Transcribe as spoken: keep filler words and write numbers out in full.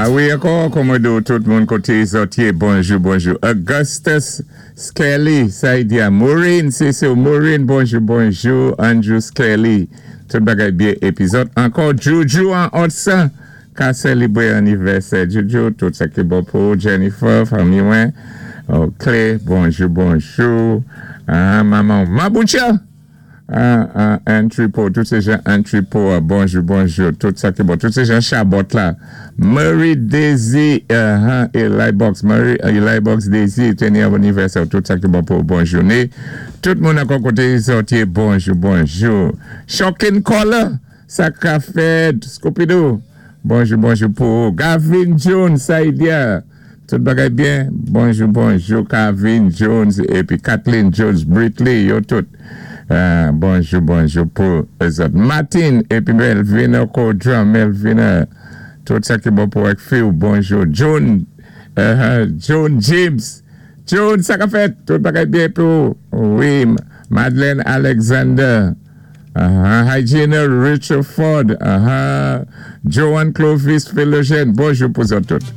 A wi, ankò, kòman do tout moun koté zòt yé, bonjou, bonjou. Augustus Skelly, sa i di a Maureen, sé sé Maureen, bonjou, bonjou. Andrew Skelly, tout bagay byen épi zòt. Ankò, Juju an Hudson, ka sélébwé annivèsè. Juju, tout sa ki bon pou Jennifer, fanmi mwen. OK, bonjou, bonjou. Ah, manman, Maboucha. Ah, ah, Entrepôt, tout sé jan Entrepôt, bonjou, bonjou, tout sa ki bon, tout sé jan Chabot la. Murray Daisy, uh, Eli Box, Murray, Eli Box Daisy, téni annivèsè, tout sa ki bon pou bon jouné. Tout moun ankò koté zòt yé, bonjou, bonjou. Shocking Caller, sa ka fèt, Scooby-Doo, bonjou, bonjou pou Gavin Jones, sa i di a. Tout bagay byen, bonjou, bonjou, Gavin Jones, épi Kathleen Jones, Britley, yo tout. Euh, bonjou, bonjou pou zòt. Martin, épi Melvina Codron, Melvina, tout sa ki bon pou ak Phil, bonjou. John, uh, John James, John, sa ka fèt, tout bagay byen pou, wi, Madeleine Alexander, uh, Hygiena Richard Ford, uh, Joan Clovis Philogène, bonjou pou zòt tout.